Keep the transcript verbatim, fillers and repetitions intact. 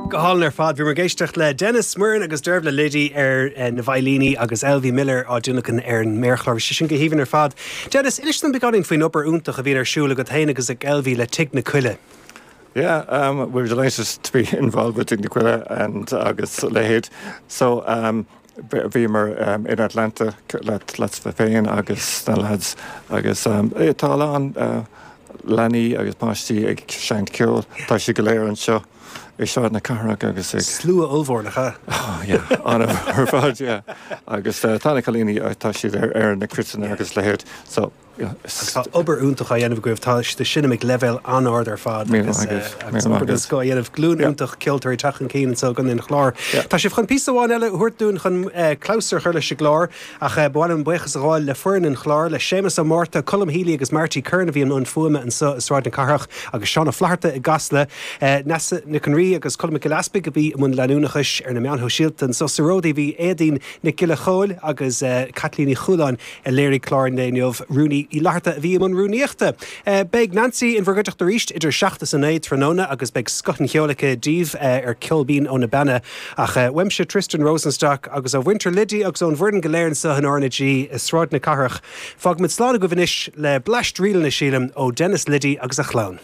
Go hálainn ar fad bhí muid ag éisteacht le Denis Muireann agus Dearbhla Liddy ar eh, na veidhlíní agus Elvie Miller á dtionlacan ar an méarchlár sé sin go haoibhinn ar fad. Denis inis dom beagáinín faoin obair iontach a bhíonn ar siúl agat féin agus ag Elvie le Tigh na Coille. Yeah, um, we're delighted to be involved with Tigh na Coille and agus leithéid. So um, bhíomar um, in Atlanta let let's féin agus na lads agus um, tá an uh, leanaí agus páistí ag seinnt ceoil tá siad go léir anseo i Sráid na Cathrach agus ag Slua ollmhór nach ea? an ar fad agus uh, tá na cailíní tá siad ar ar na cruiteanna agus leithéid so Tá obair iontach á dhéanamh agaibh tá siad sin ag leibhéal an-ard ar fad agus go dhéanamh glún iontach ceoltóirí teacht chun cinn gan an chlár. Tá sibh chun píosa amháin eile a thabhairt dúinn chun clabhsúr a chur leis an gclár ach bhainim buíochas a ghabháil le foireann an chláir le Séamus Ó Márta, Colm Healy agus Marty Curran a bhí an fuaime anseo i Sráid na Cathrach agus Seán Ó Flatharta i gCasla Nessa Nic an Rí agus Colm Gillespie a bhí i mbun leanúnachais ar na meáin shóisialta anseo sa Ródaí bhí Éadaoin Nic Giolla Chóill agus Caitlín Uí Chualáin a léirigh clár an lae inniu Rúnaí Uí Fhlatharta a bhí i mbun rúnaíochta. Beidh Nancy in bhur gcuideachta arís idir seacht is a naoi tráthnóna agus beidh scoth an cheoil aici daoibh ar Ceol Binn ó na Beanna ach uaimse Tristan Rosenstock agus ó mhuintir Liddy agus ón bhfoireann go léir anseo in RnaG i Sráid na Cathrach. Fágfaimid slán agaibh anois le bleaist ríleanna sílim ó Denis Liddy agus a chlann.